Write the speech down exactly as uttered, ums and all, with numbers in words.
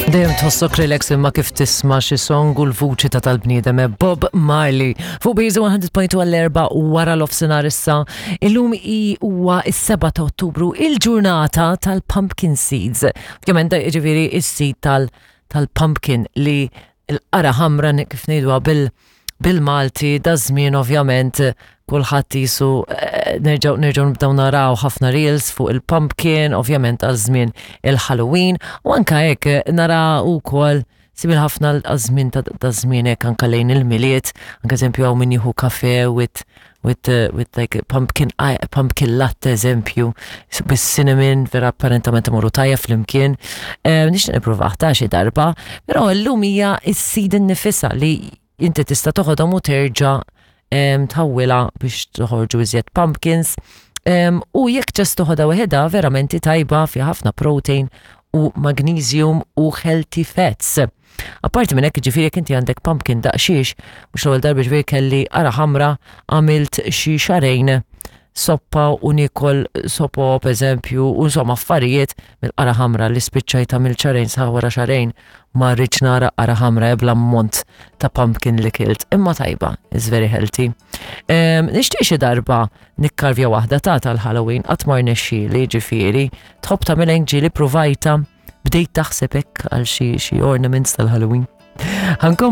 Dejjem tħossok relax imma kif tisma' xi song u l-vuċi ta' tal-bniedem eh, Bob Marley. Fuq Biżu mija u punt tnejn għall-erba wara l-ofsinhar issa. Illum i huwa is-seba' ta' Ottubru, il-ġurnata tal-pumpkin seeds. Ovvjament da jiġifieri is-seed tal- tal-pumpkin li l-qara ħamra kif ngħiduha bil bil-Malti da żmien. Ovvjament kulħadd jisu eh, nerġgħu nerġgħu nibdew naraw ħafna reels fuq il-pumpkin, ovvjament għal żmien il-Halloween, u anka hekk eh, nara wkoll simil ħafna għaż-żmien ta' ta' żmien hekk anka lejn il-Milied, anka eżempju hawn min jieħu kafe with with uh, with like pumpkin pumpkin latte eżempju bis-cinnamon, vera apparentament imorru tajja flimkien. Eh, Nixtieq nippruvah ta' xi darba, però llum hija s-seed innifisha li inti tista' toħodhom u terġa' em, tħawwilha biex toħorġu iżjed pumpkins. Em, u jekk just toħodha waħedha, verament tajba, fi ħafna protein u magnesium u healthy fats. Apparti minn hekk, ġifieri jekk inti għandek pumpkin daqshiex, mhux l-ewwel darba ġifieri kelli qara ħamra, għamilt xi xahrejn soppa u nikol sopo per eżempju, u insomma affarijiet mill-qara ħamra li spiċċajt għamilt xahrejn sa wara xahrejn ma rridx nara qara ħamra ebla ammont ta' pumpkin li kilt. Imma tajba, is very healthy. Um, Nixtieq xi darba nikkarvja waħda ta' tal-Halloween, qatt ma rnexxieli ġifieri. Tħobb tagħmel ġieli provajta, bdejt taħseb hekk għal xi xi ornaments tal-Halloween? Ħankom